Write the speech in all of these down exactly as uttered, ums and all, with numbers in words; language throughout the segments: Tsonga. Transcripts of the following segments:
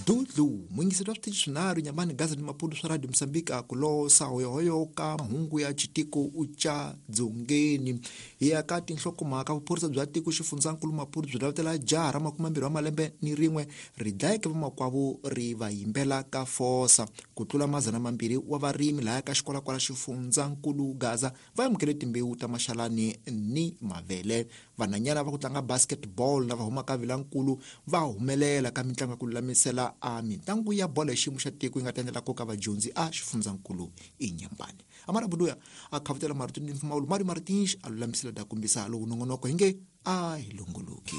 Dudlu mwingiselo wa switichi swinharhu Nyambani, Gaza ni Maputo swa Radio Msambiki kulosa hoyohoyo ka mahungu ya xitiko ucha dzongeni. Hi ya ka tinhlokomhaka, vuphorisa bya tiko xifundzankulu Maputo byi lavutela jaha ra makume mbirhi wa malembe ni rin'we ri dlayeke vamakwavo ri va yimbela ka fosa. Ku tlula madzana mambirhi wa varimi lahaya ka xikwalakwala xifundzankulu Gaza va amukele timbewu ta maxalani ni mavele. Vanhwanyana va ku tlanga basketball lava humaka Vilankulu va humelela ka mitlangu ya ku lulamisela a mitlangu ya bolo ya xiyimo xa tiko yi nga ta endlela nkoka vadyondzi a xifundzankulu Inyambani. Amara Buduya a khavutela marito ni mpfumawulo, Mario Martins a lulamisela da kombisa lowu nongonoko hi nge a hi longoloki.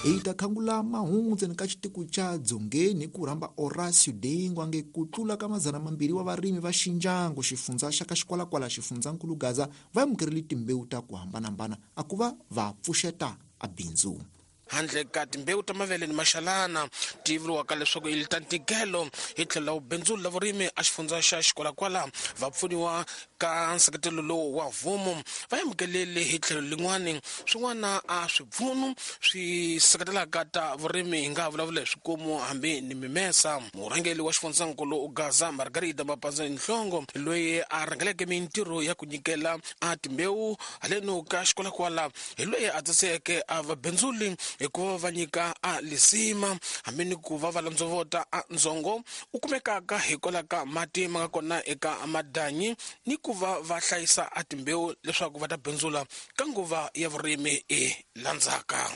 Hi ta khangula mahungu ntsena ka xitiko xa dzongeni ku rhamba Horacio Dengo ange ku tlula ka madzana mambirhi wa varimi va Xinjangu xifundza xa ka xikwalakwala xifundzankulu Gaza va amukerile timbewu ta ku hambanahambana a ku va va pfuxeta a bindzu. Handle ka timbewu ta mavele ni maxalana ti vuriwaka leswaku i ta ntikelo hi tlhelo la vubindzuli la vurimi a xifundza xa xikwalakwala va pfuniwa ka nseketelo lowu wa mfumo va amukelele hi tlhelo lin'wani swin'wana a swipfuno swi seketelaka ta vurimi hi nga vulavula hi swikomu hambi ni mimesa. Murhangeri wa xifundzankulu Gaza Margarida Mapanza Nhlongo loyi a rhangeleke mintirho ya ku nyikela a timbewu haleno ka xikwalakwala hi loyi a tsaseke a vabindzuli hikuva va nyika a lisima hambi ni ku va va landzovota a ndzongo u kumekaka hikwalaho ka mati ma nga kona eka madanyi ni ku va va hlayisa a timbewu leswaku va ta bindzula ka nguva ya vurimi e landzaka.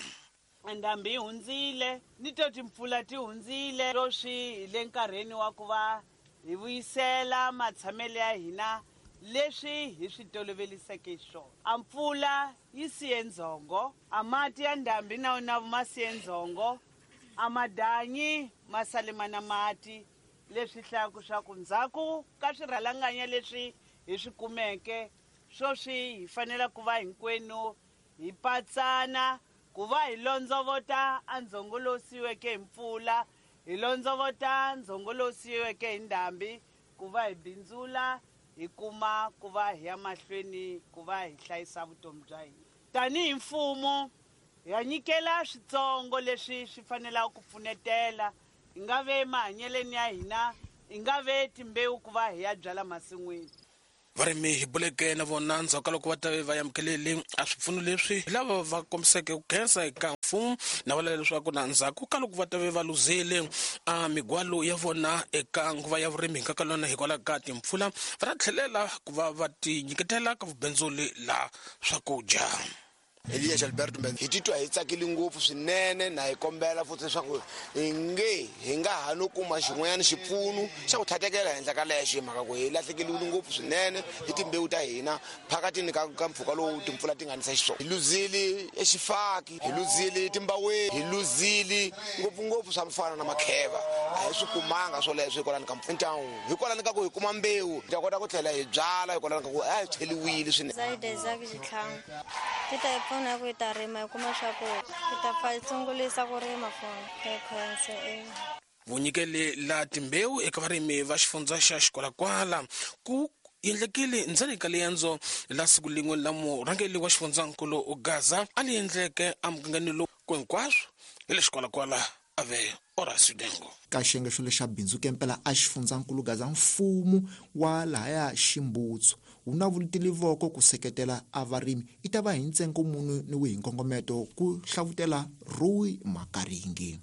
Ndhambi yi hundzile ni to timpfula ti hundzile sweswi hi le nkarhini wa ku va hi vuyisela matshamelo ya hina leswi hi swi toloveliseke swona. A mpfula yi siye ndzhongo, a mati ya ndhambi na wona ma siye ndzhongo, a madanyi ma sale ma na mati, leswi hlayaka swa ku ndzhaku ka swirhalanganya leswi hi swi kumeke sweswi hi fanele ku va hinkwenu hi patsana ku va hi londzovota a ndzhongo lowu siyiweke hi mpfula, hi londzovota ndzhongo lowu siyiweke hi ndhambi, ku va hi bindzula hi kuma ku va hi ya mahlweni ku va hi hlayisa vutomi bya hina. Tanihi mfumo hi nyikela switsongo leswi swi fanelaka ku pfunetela, hi nga ve mahanyeleni ya hina, hi nga ve timbewu ku va hi ya byala masin'wini. Varimi hi buleke na vona ndzhaku ka loko va ta va amukelele a swipfuno leswi hi lava va kombiseke ku khensa eka mfumo na vula leswaku na ndzhaku ka loko va ta va luzile a migwalo ya vona eka nguva ya vurimi hi nkakalona hikwalaho ka timpfula va ta tlhelela ku va va ti nyiketela ka vubindzuli la swakudya. Elias Alberto Mbenza hi titwa hi tsakile ngopfu swinene na hi kombela futhi leswaku hi nge hi nga ha no kuma xin'wanyana xipfuno xa ku tlhatekela henhla ka lexo hi mhaka ku hi lahlekeliwile ngopfu swinene hi timbewu ta hina phakatini ka ka mpfhuka lowu timpfula ti nga nisa xiswona. Hi luzile exifaki, hi luzile timbaweni, hi luzile ngopfungopfu swa mfana na makheva, a hi swi kumanga swoleswo hikwalani ka mpfula. Hikwalani ka ku hi kuma mbewu hi ta kota ku tlhela hi byala hikwalani ka ku a hi cheliwile swinene. Zaide Zaki Xitlhangu ti ta hi pfuna ku hi ta rima hi kuma swakudya, hi ta pfa hi sungulisa ku rima fona hi khensa. Vunyikeli la timbewu eka varimi va xifundza xa xikwalakwala ku endlekile ndzeni ka liendzo la siku lin'we la murhangeri wa xifundzankulu Gaza a li endleke emugangeni lowu ku hinkwaswo hi le xikwalakwala a ve Horacio Dengo. Ka xiyenge xo lexa bindzu kempela a xifundzankulu Gaza mfumo wa lahaya Ximbutsu wu na vulutile voko ku seketela a varimi i ta va hi ntsengo munhu ni wihi nkongometo ku hlavutela Rui Makaringi.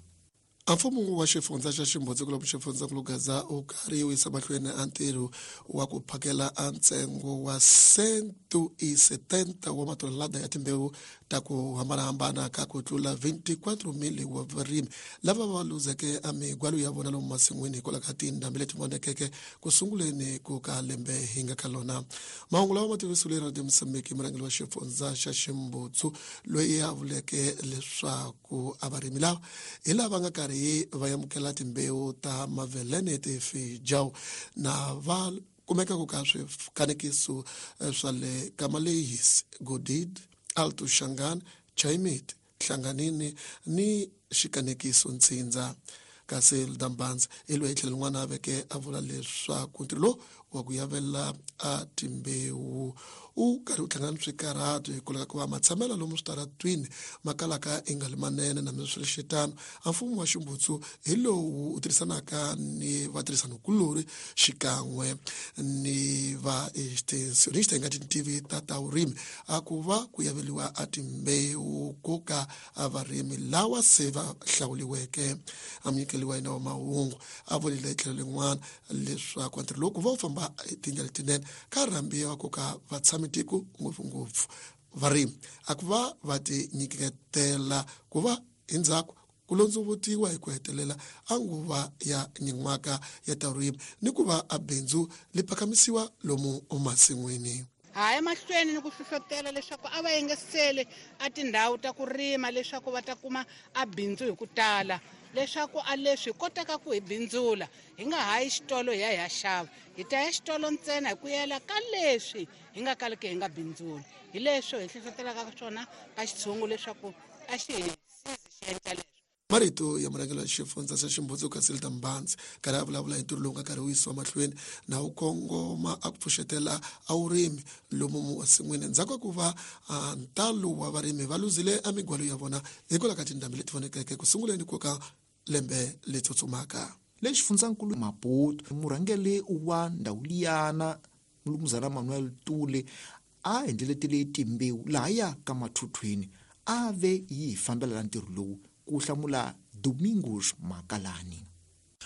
A mfumo wa xifundza xa Ximbutsu ku xifundzankulu Gaza u karhi wu yisa mahlweni a ntirho wa ku phakela a ntsengo wa cento e setenta wa matonelada ya timbewu ta ku hambanahambana ka ku tlula veintiquatro mil wa varimi lava va luzeke a migwalo ya vona lomu masin'wini hikwalaho ka tindhambi leti vonekeke ku sunguleni ku ka lembe hi nga ka lona. Mahungu lawa ma tivisiwile Radio Msambiki murhangeri wa xifundza xa Ximbutsu loyi a vuleke leswaku a varimi lava hi lava nga karhi va amukela timbewu ta mavelene tifejawu na va kumeka ku ka swikanekiso swa le Kamalehis, Godid, Alto Shangaan, Chaimit, Hlanganini ni xikanekiso Ntsindza. Kasi Dambanza hi loyi tlhelo rin'wana a veke a vula leswaku ntirho lowu wa ku yavela a timbewu wu karhi wu hlangana swikarhato hikwalaho ka ku va matshamelo lomu switaratwini ma kalaka i nga li manene na swiritano a mfumo wa Ximbutsu hi lowu wu tirhisanaka ni vatirhisanikulorhi xikan'we ni va extensionista hi nga tintivi ta ta vurimi a ku va ku yaveliwa a timbewu ko ka a varimi lawa se va hlawuliweke. A munyikeli wa hina wa mahungu a vulile hi tlhelo lin'wana leswaku ntirho lowu ku va wu famba hi tindlela letinene ka rhambiwa ku ka vatshamitiko ngopfungopfu varimi a ku va va ti nyiketela ku va endzhaku ku londzovutiwa hi ku hetelela a nguva ya nyin'waka ya ta vurimi ni ku va a bindzu li phakamisiwa lomu emasin'wini. Ha emahlweni ni ku hlohlotela leswaku a va engesele a tindhawu ta ku rima leswaku va ta kuma a bindzu hi ku tala, leswaku a leswi hi kotaka ku hi bindzula hi nga hayi xitolo hi ya hi ya xava, hi ta ya xitolo ntsena hi ku yela ka leswi hi nga kaliki hi nga bindzuli. Hi leswo hi hlohlotelaka swona ka xitshungu leswaku a xi hi sizi xi endla leswi. Marito ya murhangeri wa xifundza xa Ximbutsu Casilda Mbandzi karhi a vulavula hi ntirho lowu nga karhi wu yisiwa mahlweni na wu kongoma a ku pfuxetela a vurimi lomu masin'wini endzhaku ka ku va ntalo wa varimi va luzile a migwalo ya vona hikwalaho ka tindhambi leti vonekeke ku sunguleni ku ka lembe leri tsutsumaka. Le xifundzankulu Maputo murhangeri wa ndhawu liyana Mulumuzana Manuel Tule a endleletele timbewu lahaya ka mathuthwini a ve yi fambela ntirho lowu ku hlamula Domingos Makalani.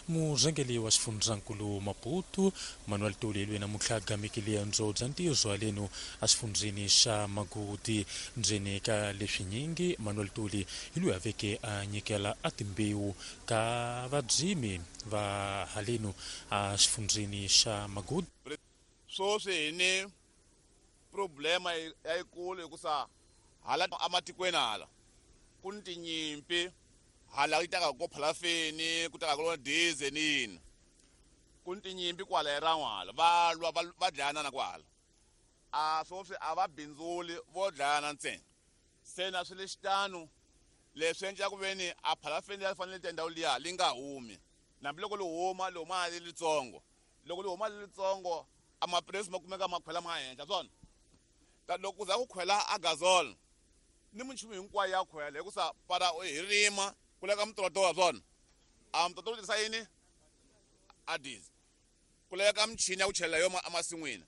Murhangeri wa xifundzankulu Maputo Manuel Tule loyi namuntlha a gamekile ndzo bya ntirho haleno exifundzeni xa Magudi. Ndzeni ka leswinyingi Manuel Tule hi loyi a veke a nyikela a timbewu ka vadzimi va haleno exifundzeni xa Magudi. Sweswi hi ni problema yayikulu hikusa hala ematikweni hala ku ni tinyimpi, hala yi taka ko phalafeni ku taka ko diesel yini, ku ni tinyimpi kwala hi ran'wala va lwa va dlayana na kwala a sweswi a va bindzuli vo dlayana ntsena. Se na swi le xitano leswi endla ku veni a phalafeni ya fanele ta ndhawu liya li nga humi, hambiloko li huma li huma li litsongo, loko li huma li litsongo a mapurasi ma kumeka ma khwela ma henhla swona. Ta loko ku za ku khwela a gazol ni minchumu hinkwayo ya khwela hikusa para hi rima ku leka mitoto wa swona a mitoto wu tirhisa yini a diesel, ku leka michini ya ku chelela yo emasin'wini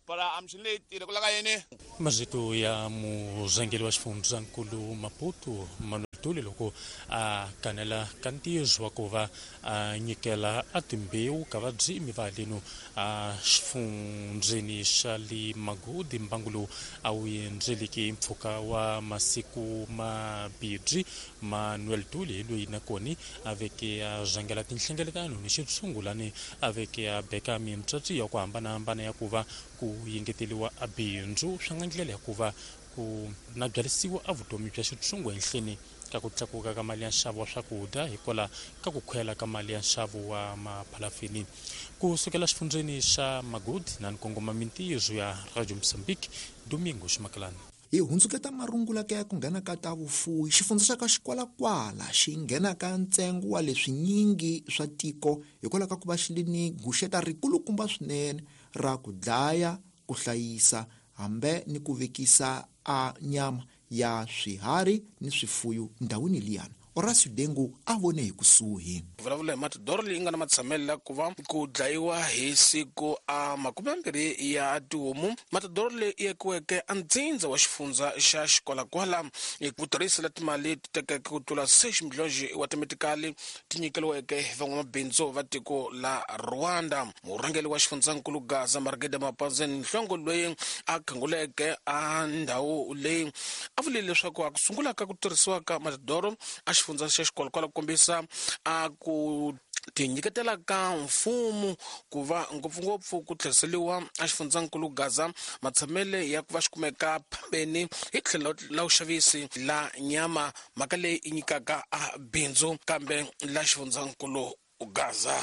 para a michini leyi tirhe ku leka yini. Marito ya murhangeri wa xifundzankulu Maputo Manuel Tule loko a kanela ka ntirho wa ku va a nyikela a timbewu ka vadzimi va haleno a xifundzeni xa le Magudi. Mbangu lowu a wu endzeleke mpfhuka wa masiku mabirhi Manuel Tule hi loyi nakona a veke a rhangela tinhlengeletano ni xitshungulani a veke a beka mitsatsi ya ku hambanahambana ya ku va ku yengeteliwa a bindzu swi nga ndlela ya ku va ku na byarisiwa a vutomi bya xitshungu ehenhleni ka ku tlakuka ka mali ya nxavo wa swakudya hikwalaho ka ku khwela ka mali ya nxavo wa maphalafini. Ku sukela xifundzeni xa Magudi na nkongoma mintirho ya Radio Mozambique, Domingos Makalani. Hi hundzuketa marungula ka ya ku nghena ka ta vufuwi xifundza xa ka Xikwalakwala xi nghena ka ntsengo wa leswinyingi swa tiko hikwalaho ka ku va xi li ni guxeta rikulukumba swinene ra ku dlaya, ku hlayisa hambe ni ku vekisa a nyama ya swiharhi ni swifuyo ndhawini liyana. Horacio Dengu a vone hi kusuhi. Vulavula hi matidoro leyi nga na matshamelo ku va ku dlayiwa hi siku a makume mambirhi ya tihomu. Matidoro leyi yekiweke a ndzindza wa xifundza xa Xikwalakwala hi ku tirhisela timali ti tekeke ku tlula six miliyoni wa timetikali ti nyikeliweke hi van'wamabindzu va tiko la Rwanda. Murhangeri wa xifundzankulu Gaza Margede Mapazeni Nhlongo loyi a khanguleke a ndhawu leyi a vulile leswaku a ku sungula ka ku tirhisiwa ka matidoro a xifundza xa Xikwalakwala ku kombisa a ku tinyiketela ka mfumo ku va ngopfungopfu ku tlheriseriwa a xifundzankulu Gaza matshamele ya ku va xi kumeka phambeni hi tlhelo la vuxavisi la nyama, mhaka leyi yi nyikaka a bindzu kambe la xifundzankulu Gaza.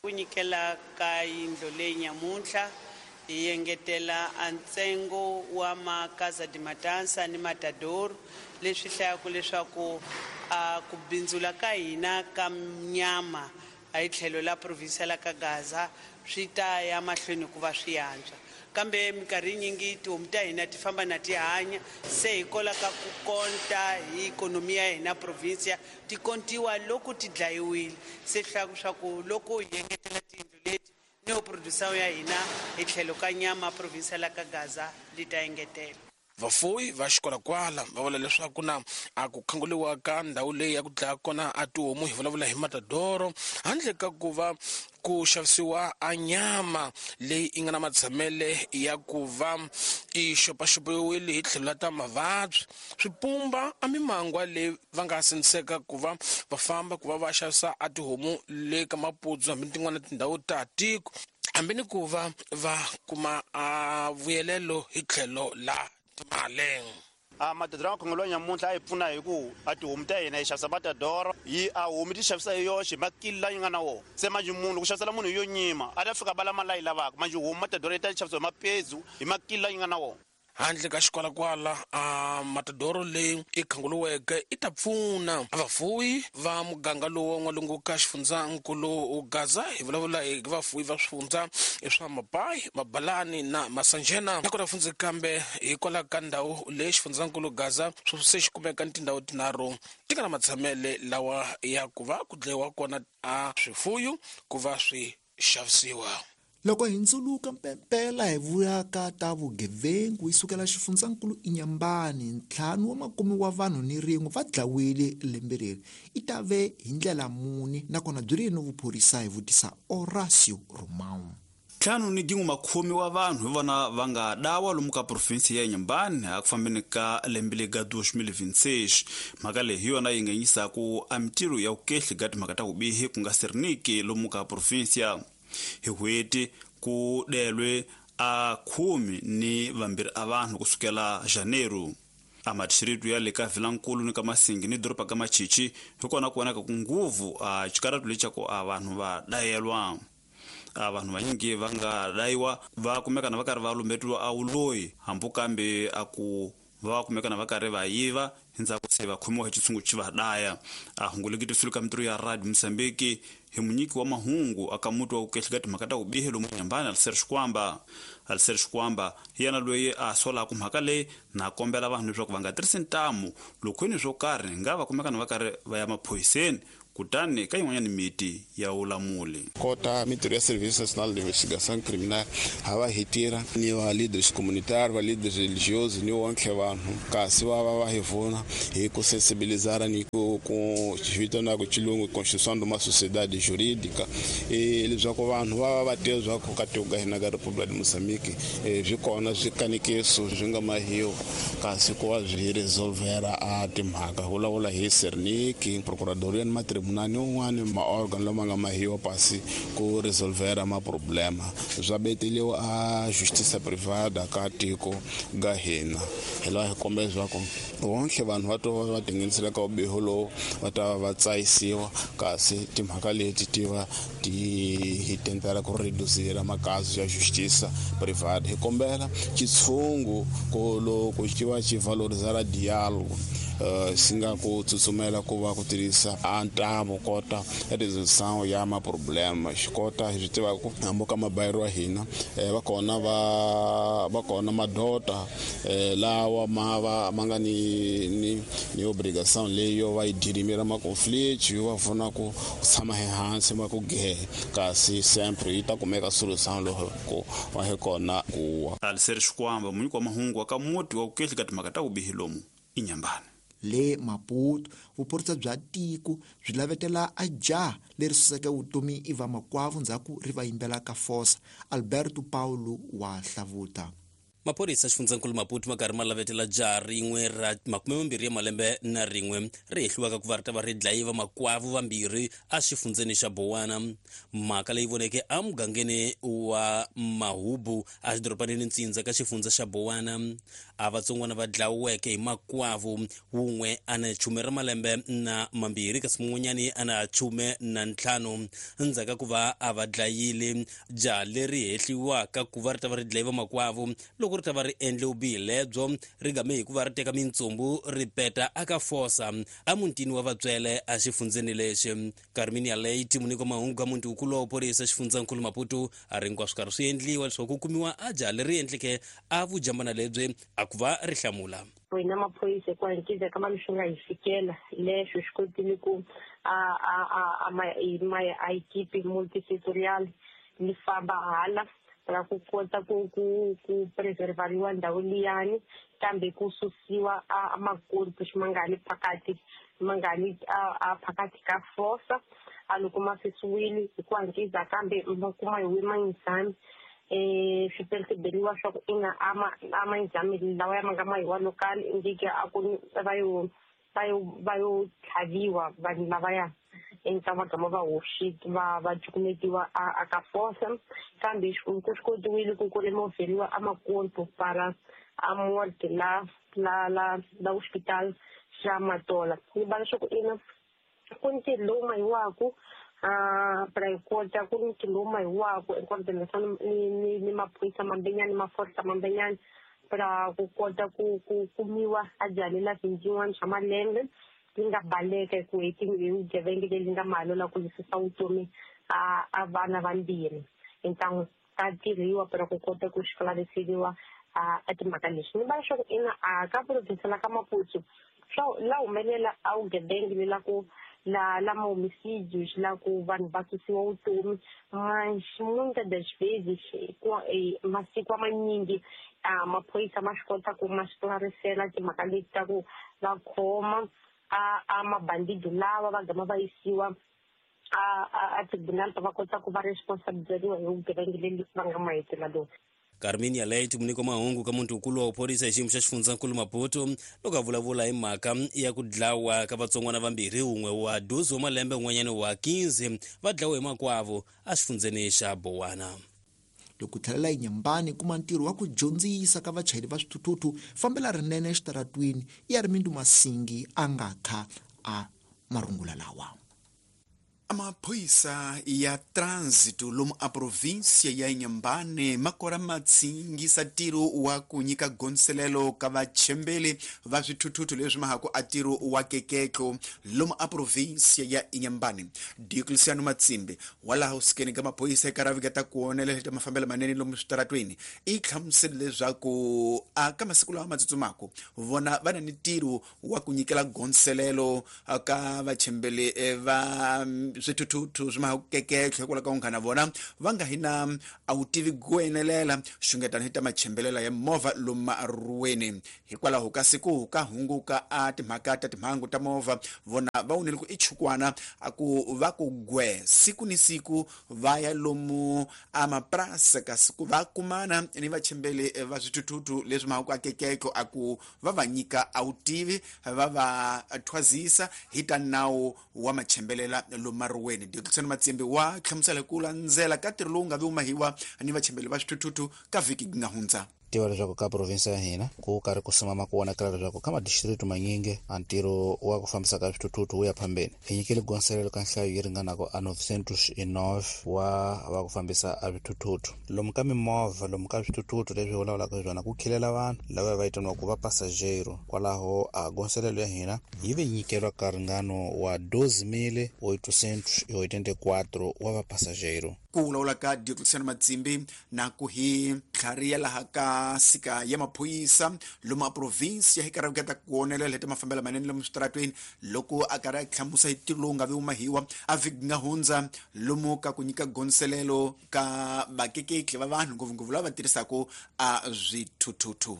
Ku nyikela ka yindlu leyi nyamuntlha hi engetela a ntsengo wa makaza de matansa ni matador leswi hlayaka leswaku a ku bindzula ka hina ka nyama a hi tlhelo la province la ka Gaza swi ta ya mahlweni ku va swi antswa. Kambe minkarhi yinyingi tihomu ta hina ti famba na ti hanya, se hi kola ka ku konta hi ikhonomi ya hina provinsia ti kontiwa loko ti dlayiwile. Se hlaku swa ku loko hi engetela tiyindlu leti ni yo producer ya hina hi tlhelo ka nyama provinsia la ka Gaza li ta engetela. Vafuwi va xikwalakwala va vula leswaku na a ku khanguliwa ka ndhawu leyi ya ku dlaya kona a tihomu, hi vulavula hi matadoro, handle ka ku va ku xavisiwa a nyama leyi yi nga na matshamele ya ku va yi xopaxopiwile hi tlhelo la ta mavabyi, swipumba a mimangwa leyi va nga sindziseka ku va va famba ku va va xavisa a tihomu le ka Maputsu hambi tin'wana tindhawu ta tiko, hambi ni ku va va kuma a vuyelelo hi tlhelo la timali. A matadoro khongolo nyamuntlha a yi pfuna hi ku a tihomu ta hina hi xavisa matadoro, yi a homu ti xavisa hi yoxe makili la yi nga na wona. Se manje munhu ku xavisela munhu yo nyima a ta fika bala mali leyi lavaka, manje homu matadoro yi ta xavisiwa hi mapezu hi makili la yi nga na wona. Handle ka xikwalakwala a matadoro leyi i khanguluweke i ta pfuna vafuwi va muganga lowu wa n'walungu ka xifundzankulu Gaza. Hi vulavula hi vafuwi va swifundza swa Mapai, Mabalani na Masanjena. Nakona fundzi kambe hikwalaho ka ndhawu leyi xifundzankulu Gaza se xi kumeka ni tindhawu tinharhu ti nga na matshamele lawa ya ku va ku dlayiwa kona a swifuyo ku va swi xavisiwa. Loko hi ndzuluka mpempela hi vuya ka ta vugevengu yi sukela xifundzankulu Inhambane, ntlhanu wa makume wa vanhu ni rin'we va dlawile lembe leri. I ta ve hi ndlela muni nakona byi ri ni vuphorisa, hi vutisa Horacio Romão. Ntlhanu ni gin'we makhume wa vanhu hi vona va nga dawa lomu ka provinsi ya Inhambane a ku fambeni ka lembe lega deux mille vingt-six. Mhaka leyi hi yona yi nga yisaku a mintirho ya vukehli ga timhaka ta vubihi ku nga sirniki lomu ka provinsia. Hi n'hweti ku delwe a khume ni vambirhi a vanhu kusukela Janeiro. A madistrito ya le ka Vilankulu ni ka Masingi ni doroba ka Machichi hi kona ku vonaka ku nguvu a xikaratu lexaku a vanhu va dayelwa. A vanhu vanyingi va nga dayiwa va kumeka na va karhi va lumbetiwa a wuloyi, hambi kambe a ku va kumeka na va karhi va yiva endzhaku se va khomiwa hi xitshungu xi va daya. A hunguleketisile ka mintirho ya Radio Mozambique hi munyiki wa mahungu aka muti wa vukehli ka timhaka ta vubihi lomu Inhambane, Alicer Xikwamba. Alicer Xikwamba hi yena loyi a solaka mhaka leyi na kombela vanhu leswaku va nga tirhisi ntamu loko ni swo karhi nga va kumeka na va karhi va ya maphoyiseni kutani ka yin'wanyana miti ya ulamuli. Kota mintirho ya Serviço Nacional de Investigação Criminal ha va hi tirha ni va leaders communitaires, va leaders religiosos ni wonke vanhu kasi va va va hi pfuna hi ku sensibilizar ni ku ku vitana ku xilungu construção de uma sociedade jurídica, e leswaku vanhu va va va tiva leswaku ka tiko ka hina ka República de Moçambique byi kona swikanekiso swi nga mahiwa kasi ku va byi resolvera a timhaka. Vulavula hi Serniki, Procuradoria ni matribunali un'wana maorgan lama nga mahiwa pasi ku resolvera maproblema swa beteliwa a justiça privada ka tiko ga hina. Hi laha hi kombela leswaku wonke vanhu va to va tinghenisela ka vubihi lowu va ta va tsayisiwa kasi timhaka leti ti va ti hi tentela ku reducira makaso ya justiça privada. Hi kombela xitshungu ku loko xi va xi valorizara diálogo uh, xi nga ku tsutsumela ku va ku tirhisa a ntamu kota resolução ya maproblema. Xi kota hi swi tiva ku hambi ka mabayiro wa hina va kona va va kona madota lawa ma va ma nga ni ni ni obrigação leyo va yi dirimira maconflito yo va pfuna ku tshama ehansi ma ku gehe kasi sempre yi ta kumeka solução loko ku va hi kona ku. Alicer Xikwamba munyiki wa mahungu wa ka muti wa vukehli ka timhaka ta vubihi lomu Inhambane. Le Maputo, vuphorisa bya tiko byi lavetela a jaha leri suseke vutomi i vamakwavo ndzhaku ri va yimbela ka fosa. Alberto Paulo wa hlavuta. Maphorisa xifundzankulu Maputo ma karhi ma lavetela jaha rin'we ra makume mambirhi ya malembe na rin'we ri hehliwaka ku va ri ta va ri dlaye vamakwavo vambirhi exifundzeni xa Bowana. Mhaka leyi voneke emugangeni wa Mahubu exidorobanini Ntsindza ka xifundza xa Bowana. A vatsongwana va dlawiweke hi makwavo, wun'we a na chume ra malembe na mambirhi kasi mun'wanyani a na chume na ntlhanu. Endzhaku ka ku va a va dlayile, jaha leri hehliwaka ku va ri ta va ri dlaye vamakwavo loko Loko ri ta va ri endle vubihi lebyo ri game hikuva ri teka mintsumbu ri peta aka fosa emutini wa vatswele exifundzeni lexi. Carminia Leite muniko mahungu ka muti wukulu wa vuphorisa xifundzankulu Maputo a ri hinkwaswo karhi swi endliwa leswaku ku kumiwa a jaha leri endleke a vujambana lebyi a ku va ri hlamula. Wena maphoyisa ku hankisa ka mali swi nga hi fikela leswi swi kotile ku a a a ma ma a equipe multisectorial li famba hala ra ku kota ku ku ku preservariwa ndhawu liyani kambe ku susiwa a makorpo xi phakathi ma nga li a phakathi ka fosa a loko ma susiwile hi ku hankisa kambe ma kuma hi wimanyisani eh swi perceberiwa swa ku ina ama ama exame lawa ya nga mahiwa local indike a ku va yo va yo va yo tlhaviwa vanhu lavaya entsa va gama va hoxi va va cukumetiwa a ka fosa kambe ku swi kotiwile ku ku removeriwa a makorpo para a morgue la la la la hospital xa Matola. Ni va leswaku ina ku ntirho lowu mahiwaku a para kota ku ntirho lowu mahiwaku enkoordination ni ni ni maphorisa mambenyani maforsa mambenyani para ku kota ku ku kumiwa a jalela vinjiwani swa malembe li nga baleka ku hi vugevenga leri nga mahalo ku susa vutomi a a vana vambirhi entlangu ka tirhiwa para ku kota ku xikalaviseriwa a timhaka leswi. Ni va leswaku ina a ka province la ka Maputo swa la humelela a vugevenga le la ku la la homicídios la ku vanhu va susiwa vutomi mas muitas das vezes masiku manyingi a maphorisa ma swi kota ku ma esclarecela timhaka leti ta ku va khoma a a mabandido lava va gama va yisiwa a a tribunal va kota ku va responsabilizeriwa hi vugevenga leri va nga mahetela lowu. Carminia Leite muniko mahungu ka muntu wukulu wa vuphorisa hi xiyimo xa xifundzankulu Maputo loko a vulavula hi mhaka ya ku dlawa ka vatsongwana vambirhi, wun'we wa dozi wa malembe un'wanyana wa quinze va dlawe hi makwavo exifundzeni xa Bowana. Loko tlhelela eNyembani kuma ntirho wa ku dyondzisa ka vachayeri va swithuthuthu fambela rinene exitaratwini ya Rimindu Masingi a nga kha a marungula lawa. Amaphoyisa ya trânsito lomu a província ya Inhambane makora matsingisa ntirho wa ku nyika gondzelelo ka vachembeli va swithuthuthu leswi mahaku a ntirho wa keketlo lomu a província ya Inhambane. Diocleciano Matsimbi wa laha usikeni ka maphorisa eka ravika ta ku onela ta mafambelo manene lomu switaratweni i hlamusele leswaku a ka masiku lawa ma tsutsumaka vona va na ni ntirho wa ku nyikela gondzelelo ka vachembeli va swithuthuthu swi mahaku keketlo hikwalaho ka unghana vona va nga hi na a wu tivi ku enelela xungetano hi ta machembelela ya movha lomu maruweni. Hikwalaho ka siku ka hunguka a timhaka ta timhangu ta movha vona va wunile ku i chukwana a ku va ku gwe siku ni siku va ya lomu a maprasa ka siku va kumana ni vachembeli va swithuthuthu leswi mahaku a keketlo a ku va va nyika a wu tivi va va thwazisa hi ta nawu wa machembelela lomu maruweni. Diocleciano Matsimbi wa hlamusela ku landzela ka ntirho lowu nga vi mahiwa ni vachembeli va swithuthuthu ka vhiki nga hundza. Tiva leswaku ka province ya hina ku karhi ku simama ku vonakala leswaku ka madistrito manyingi a ntirho wa ku fambisa ka swithuthuthu wu ya phambeni. Hi nyikile gondzelelo ka nhlayo yi ringanaka a novecentos e nove wa va ku fambisa a swithuthuthu lomu ka mimovha lomu ka swithuthuthu leswi vulavulaka hi swona ku khilela vanhu lava va vitaniwaka va passageiro. Kwalaho a gondzelelo ya hina yi ve nyikeriwa ka ringano wa doze mil oitocentos e oitenta e quatro wa va passageiro. Ku vulavula ka Diocleciano Matsimbi na ku hi tlhariya laha ka sika ya maphorisa lomu a province ya hi karhi ta ku onelela hi ta mafambelo manene lomu switaratweni loko a karhi a hlamusa hi ntirho lowu nga vi mahiwa a vhiki nga hundza lomu ka ku nyika gondzelelo ka vakeketli va vanhu ngopfungopfu lava va tirhisaka a swithuthuthu.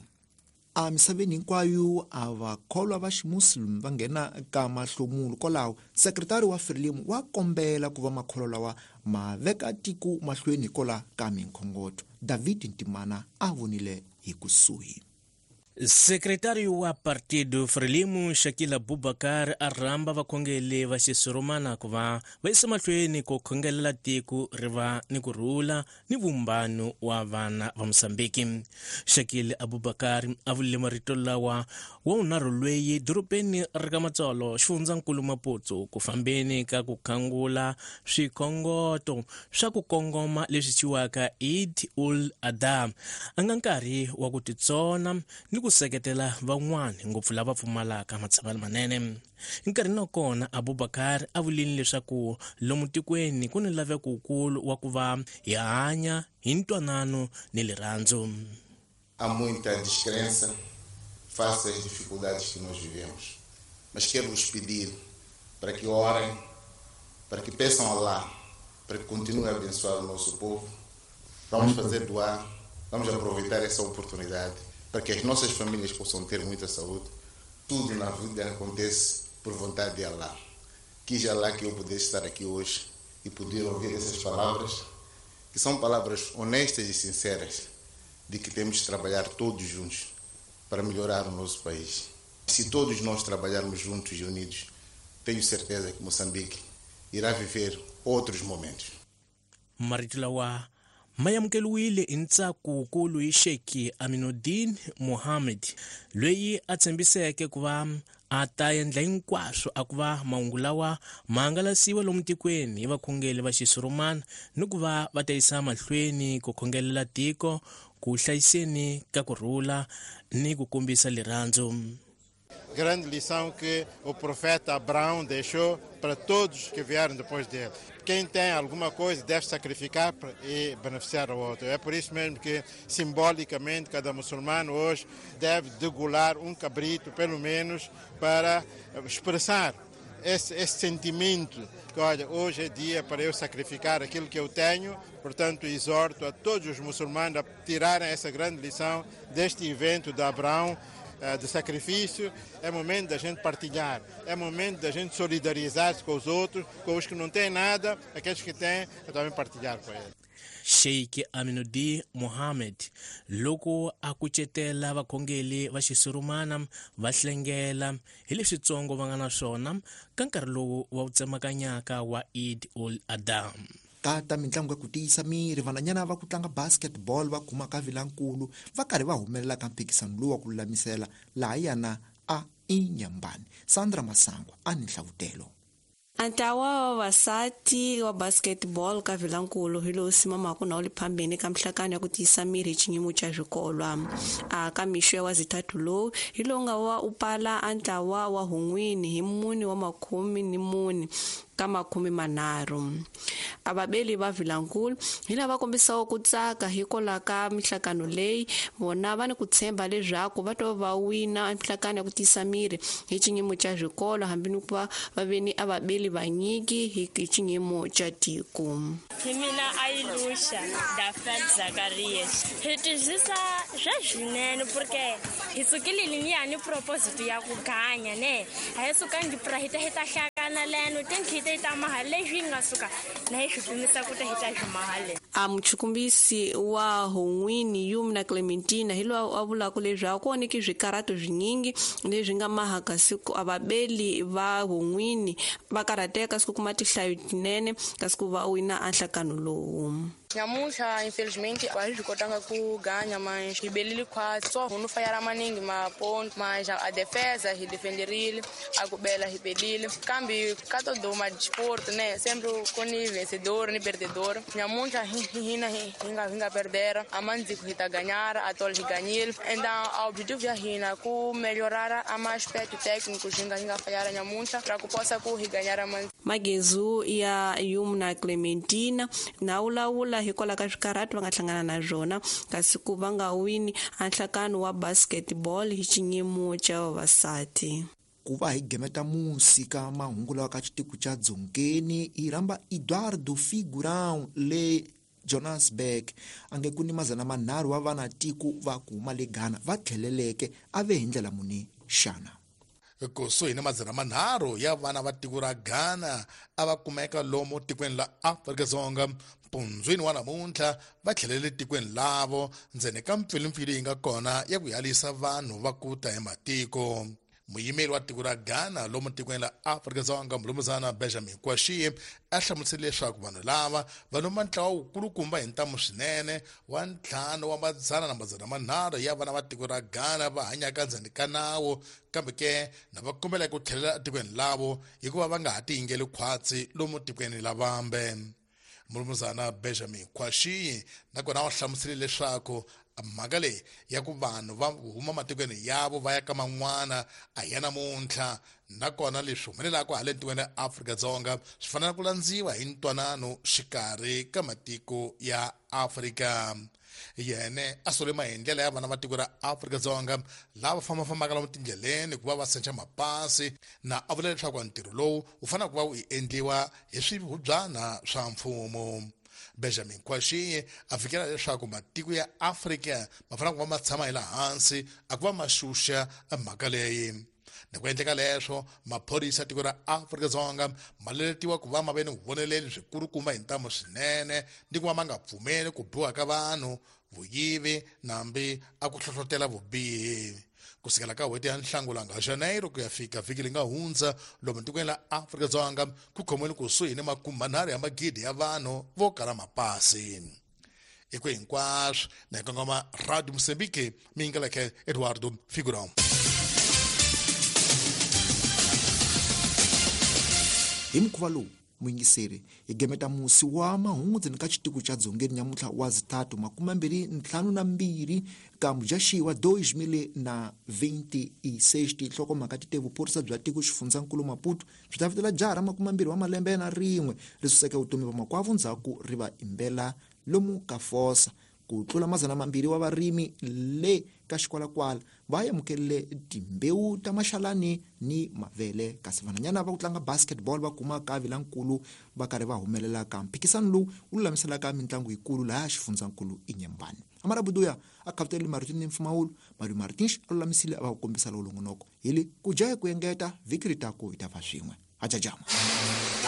A misaveni hinkwayo a vakholwa va ximuslim va nghena ka mahlomulo. Kwalaho sekretari wa Frelimo wa kombela ku va makholwa lawa ma veka tiko mahlweni hikola ka minkhongotho. David Ntimana a vonile hi kusuhi. Sekretari wa Partido Frelimo Shakila Abubakar a rhamba vakhongeli va xisurumana ku va va yisa mahlweni ku khongelela tiko ri va ni ku rhula ni vumbano wa vana va Mozambiki. Shakila Abubakar a vulile marito lawa wa vunharhu lweyi dorobeni ri ka Matsolo xifundzankulu Maputo ku fambeni ka ku khangula swikhongoto swa ku kongoma leswi thyiwaka Eid ul Adha a nga nkarhi wa ku titsona ni ku seketela van'wana ngopfu lava pfumalaka matshamelo manene. Nkarhi na kona Abubakar a vulile leswaku lomu tikweni ku ni laveko wukulu wa ku va hi hanya hi ntwanano ni rirhandzu. Há muita descrença face às dificuldades que nós vivemos, mas quero vos pedir para que orem, para que peçam a Allah, para que continue a abençoar o nosso povo. Vamos fazer doar, vamos aproveitar essa oportunidade para que as nossas famílias possam ter muita saúde. Tudo na vida acontece por vontade de Allah. Quis Allah que eu pudesse estar aqui hoje e poder ouvir essas palavras, que são palavras honestas e sinceras, de que temos de trabalhar todos juntos para melhorar o nosso país. Se todos nós trabalharmos juntos e unidos, tenho certeza que Moçambique irá viver outros momentos. Marito lawa ma amukeriwile hi ntsako wukulu hi Sheikh Aminuddin Mohammed loyi a tshembiseke ku va a ta endla hinkwaswo a ku va mahungu lawa ma hangalasiwa lomu tikweni hi vakhongeli va xisurumana ni ku va va ta yisa mahlweni ku khongelela tiko ku hlayiseni ka ku rhula ni ku kombisa rirhandzu. Grande lição que o profeta Abraão deixou para todos que vieram depois dele. Quem tem alguma coisa deve sacrificar e beneficiar o outro. É por isso mesmo que, simbolicamente, cada muçulmano hoje deve degolar um cabrito, pelo menos, para expressar esse, esse sentimento que, olha, hoje é dia para eu sacrificar aquilo que eu tenho. Portanto, exorto a todos os muçulmanos a tirarem essa grande lição deste evento de Abraão, de sacrifício. É momento da gente partilhar, é momento da gente solidarizar-se com os outros, com os que não têm nada, aqueles que têm, é também partilhar com eles. Sheikh Aminuddin Mohammed loko a kucetela vakhongeli va xisurumana va hlengela hi leswitsongo va nga na swona ka nkarhi lowu wa wu tsemakanyaka wa Eid ul Adha. Ka ta mitlangu ya ku tiyisa miri, vananyana va ku tlanga basketball va kuma ka vilankulu va karhi va humelela ka mphikisano lowu wa ku lulamisela laha yana a Inyambani. Sandra Masango a ni nhlavutelo. Ntlawa wa vavasati wa basketball ka Vilankulu hi lowu simamaka na wu le phambeni ka mihlakano ya ku tiyisa miri hi xinyimo xa swikolwa. A ka mixo ya wazithathu lowu hi lowu nga wa u pala a ntlawa wa hun'wini hi mune wa makhume ni mune ka makhume manharhu. A vabeli va Vilankulu hi lava kombisaka ku tsaka hikwalaho ka mihlakano leyi vona va ni ku tshemba leswaku va to va wina mihlakano ya ku tiyisa miri hi xinyimo xa swikolo hambi ni ku va va veni a vabeli vanyiki hi xinyimo xa tiko. Hi mina Ailusha Dafel Zakarias. Hi twisisa swa swinene porque hi sukile ni proposito ya ku ganya ne a hi sukangi pra hi ta hi ta hlangana leno tinkhite ta mahala leswi nga suka na hi swi pimisa ku ta hi ta swi mahala. A muchukumbisi wa Hon'wini Yumna Clementina hi loyi a vulaka leswaku ku onheke swikarato swinyingi leswi nga maha kasi ku a vabeli va Hon'wini va karhateka kasi ku kuma tinhlayo tinene kasi ku va wina a nhlakano lowu. Nyamuntlha infelizmente a hi swi kotanga ku ganya mas hi belile khwatsi so hunu fayara maningi maponto mas a defesa hi defenderile a ku bela hi belile kambe ka todo ma desporto né sempre com ni vencedor ni perdedor. Nyamuntlha hi hina hi nga hi nga perdera a mandziku hi ta ganhar a tol hi ganhile então o objetivo ya hina ku melhorar a ma aspecto técnico hi nga hi nga fayara nyamuntlha pra ku possa ku hi ganhar mandziku. Magezu ya Yumna Clementina na wulawula hikwalaho ka swikarhato va nga hlangana na swona kasi ku va nga wini a nhlakano wa basketball hi xinyimo xa vavasati. Ku va hi gemeta musi ka mahungu lawa ka xitiko xa Dzongeni hi rhamba Eduardo Figurão le Johannesburg a nge ku ni mazana manharhu wa vana tiko va ku huma le Ghana va tlheleleke a ve hi ndlela muni xana. Kusuhi ni madzana manharhu ya vana va tiko ra Ghana a va kumeka lomu tikweni la Afrika-Dzonga mpundzwini wa namuntlha va tlhelele tikweni lavo ndzeni ka mpfilumpfilu yi nga kona ya ku yalisa vanhu va ku ta hi matiko. Muyimeri wa tiko ra Ghana lomu tikweni la Afrika-Dzonga mulumuzana Benjamin Kwashie a hlamusele leswaku vanhu lava va luma ntlawa wukulukumba hi ntamu swinene wa ntlhanu wa madzana na madzana manharhu ya vana va tiko ra Ghana va hanyaka ndzeni ka nawu, kambe ke na va kombela ku tlhelela etikweni lavo hikuva va nga ha tiyingeli khwatsi lomu tikweni la vambe. Mulumuzana Benjamin Kwashie nakona u hlamusele leswaku mhaka leyi ya ku vanhu va huma matikweni yavo va ya ka man'wana a ya namuntlha, nakona leswi humelelaka hala tikweni ra Afrika-Dzonga swi fanele ku landziwa hi ntwanano xikarhi ka matiko ya Afrika. Yene a sole maendlelo ya vana va tiko ra Afrika-Dzonga lava fambafambaka lomu tindleleni ku va va sencha mapasi, na a vula leswaku ntirho lowu wu fanele ku va wu endliwa hi swihubyana swa mfumo. Benjamin Kwashie a fikela leswaku matiko ya Afrika ma fanele ku va ma tshama hi laha hansi a ku va ma xuxa mhaka leyi. Ni ku endleka leswo maphorisa ya tiko ra Afrika-Dzonga ma leletiwa ku va ma ve ni vuvoneleli byikulukumba hi ntamu swinene ni ku va ma nga pfumeli ku biwa ka vanhu, vuyivi nambi a ku hlohlotela vubihi. Kusukela ka n'hweti ya Nhlangula nga Janeiro ku ya fika vhiki leyi nga hundza lomu tikweni la Afrika-Dzonga ku khomiwile kusuhi ni makume manharhu ya magidi ya vanhu vo kala mapasi. I ku hinkwaswo na hi kongoma Radio Mozambique, mi yingeleke Eduardo Figurão. Hi mukhuva lowu muyingiseri hi gemeta musi wa mahungu ndzeni ka xitiko xa dzongeni nyamuntlha wa zitatu makume mbirhi ntlhanu na mbirhi ka mudyaxihi wa dois mil na vinte e seis. Tinhlokomhaka ti te vuphorisa bya tiko xifundzankulu Maputo byi ta vitela jaha ra makume mbirhi wa malembe na rin'we ri suseke vutomi va makwavo ndzhaku ri va imbela lomu ka fosa. Ku tlula madzana mambirhi wa varimi le ka xikwalakwala va amukerile timbewu ta maxalani ni mavele, kasi vanhwanyana va ku tlanga basketball va kuma ka vilankulu va karhi va humelela ka mphikisano lowu wu lulamiselaka mitlangu yikulu laha xifundzankulu Inhambane. Amarabuduya a khavutelile marito ni mpfumawulo, Mario Martins a lulamisile a va ku kombisa lowu longonoko hi le ku dya hi ku engeta vhiki ri taku hi ta va swin'we. Hajajama.